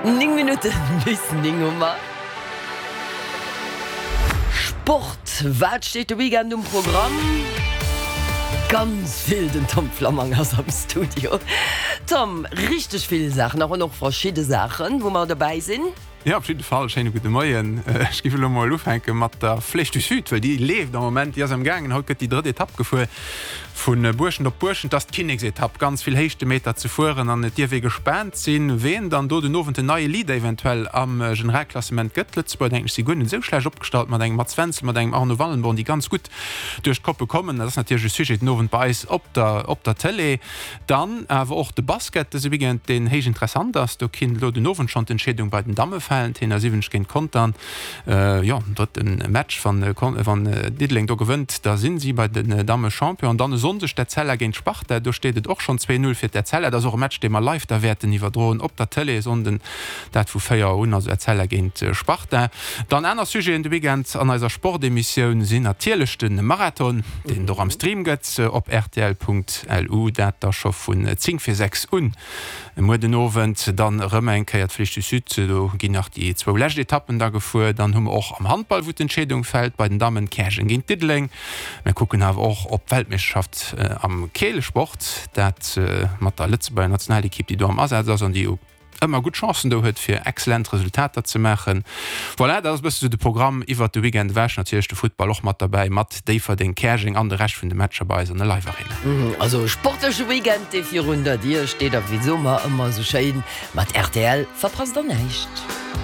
9 Minutten bis 9 hu mer. Sport, Wat steet de Weekend um Programm? Ganz vill, den Tom Flammang ass am Studio. Tom, richteg vill Saachen an och verschidde Saachen, wou mer dobäi sinn. Jo, op jidde Fall. Schéine gudde Moien. Ech géif elo mol ufänke mat der Flèche du Sud, well déi leeft am Moment, déi ass am gaangen. Haut gëtt déi drëtt Etapp gefuer vu Buerschent op Buerschent. Dat ass d'Kinneksetapp, ganz vill Héichtemeter ze fueren an et dierf ee gespaant sinn, ween dann do den Owend den neie Leader eventuell am Generalklassement gëtt. D'Lëtzebuerger, denken ech, si guer net esou schlecht opgestallt mat engem Mats Wenzel, mat engem Arno Wallenborn, déi ganz gutt duerch d'Koppe kommen. Dat ass natierlech e Sujet den Owend bei eis op der op der Tëlee. Dann awer och de Basket dëse Weekend, deen héich interessant ass. Do kinnt elo den Owend schonn d'Entscheedung bei den Damme falen. D'Heener 70 géint Contern. Jo, drëtte Match. Wann wann Diddeleng do gewënnt, da sinn si bei den Damme Champion. An dann e Sonndeg d'Etzella géint d'Sparta. Do steet et och schonn 2, 0 fir d'Etzella. Dat ass och e Match, dee mer live da wäerten iwwerdroen op der Tëlee e Sonnden. Dat vu 4 Auer un, also Etzella géint Sparta. Dann aner Sujeten de Weekend an eiser Sportemissioun sinn natierlech de Marathon, deen et och am Stream gëtt op rtl.lu, dat da scho vun 10 vir 6 un muer den Owend. Dann erëm eng Kéier d'Flèche du Sud, do ginn nach déi zwou lescht Etappen da gefuer. Dann hu mer och am Handball, wou d'Entscheedung fält bei den Dammen, Käerjeng géint Diddeleng. Mir kucken awer och op d'Weltmeeschterschaft am Keelesport, dat mat der Lëtzebuerger Nationalekipp, déi do am Asaz ass an déi ëmmer gutt Chancen do huet fir excellent Resultater ze maachen. Voilà, dat ass e bësse sou de Programm iwwert de Weekend ewech. Natierlech de Futtball och mat derbäi, mat Déifferdeng, Käerjeng an de Rescht vun de Matcher bei eis an der Live Arena. Also e sportleche Weekend dee virun der Dier steet a wéi soe mer ëmmer esou schéin, mat rtl verpasst der näischt.